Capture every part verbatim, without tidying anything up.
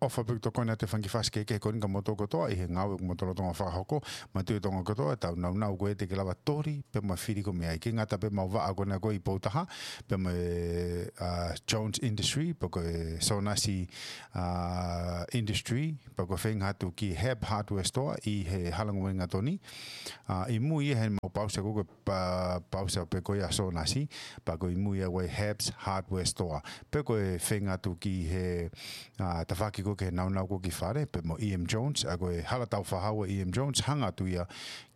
ʻOfa pē ʻoku tokoni atu e fanga kiʻi fasi kehekehe ko eni kia moutolu kotoa ʻi he ngāue ʻoku mou lolotonga fakahoko. Manatuʻi e Tonga kotoa, tau naunau ko ē te ke lava toli pea mo e fili ko ē mei ai. ʻIkai ngata pē ʻemau vaʻa ko ena ko ē ʻi Poutaha, pea mo e, ʻa, Jones Industry, pea ko e Sonasi, ʻa, Industry, pea ko e feinga atu ki Hab Hardware Store ʻi he Hala Uelingatoni. ʻA, ʻi mui ia heʻemau pausa ko ē ko e pa-, pausa pē ko ia ʻa Sonasi, pea ko e ʻi mui ia ko e Habs Hardware Store. Pea ko e feinga atu ki he, ʻa, tafaʻaki ko ē ki he naunau ko ē ki fale, pea mo E M Jones, ʻa ko e hala taufaʻahau ʻa E M Jones, hanga atu ia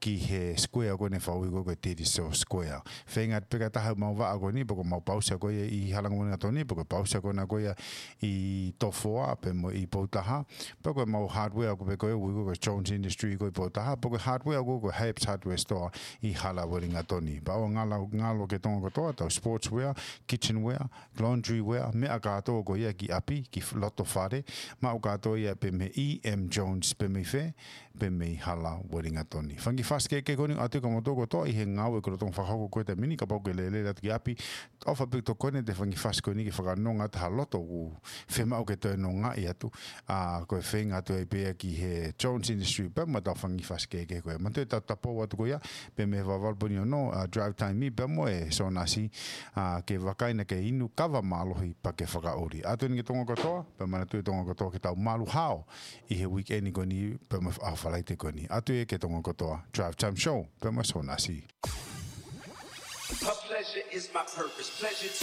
ki he square ko eni ʻoku fakaʻuhi ko ē ko e Titiso Square. Feinga atu pē kae taha ʻemau vaʻa ko eni, pea ko ʻemau pausa ko ia ʻi Hala Uelingatoni, pea ko e pausa ko ena ko ia ʻi Tofoa, pea mo ʻi Poutaha, pea ko ʻemau hardware ko ē pē ko ē ʻoku ui ko ē ko e Jones Industry ko ē ʻi Poutaha, pea ko e hardware ko ē ko e Habs Hardware Store ʻi Hala Uelingatoni. Pea ʻoua ngalo, ngalo ki he Tonga kotoa, tau sportswear, kitchenware, laundryware, meʻa kātoa ko ia ki ʻapi, ki f-, loto fale, maʻu kātoa ia pē mei E M Jones, pē mei fē, pē mei Hala Uelingatoni. Fanga kiʻi fasi kehekehe ko eni ʻoatu kia moutolu kotoa ʻi he ngāue ʻoku lolotonga fakahoko ko ē he taimi ni, kapau ʻoku ke lele atu ki ʻapi, ʻofa pē ʻoku tokoni atu e fanga kiʻi fasi ko eni ke fakanonga atu ha loto ʻoku fiemaʻu ke toe nongaʻi atu. ʻA, ko e feinga atu ai pē ia ki he Jones Industry pea mo ʻetau fanga kiʻi fasi kehekehe ko ē. Manatuʻi ʻetau tapou atu ko ia, pē mei he valu poini ono, ʻa, Drive Time ʻi pea mo e Sonasi, ʻa, ke vakai naʻa ke inu kava mālohi pea ke fakaʻuli. ʻOatu eni ki he Tonga kotoa, pea manatuʻi e Tonga kotoa ke tau malu hao ʻi he weekend ko eni, pea mo e ʻaho Falaite ko eni. ʻOatu ia ki he Tonga kotoa, Drive Time Show, pea mo e Sonasi. Her pleasure is my purpose. Pleasure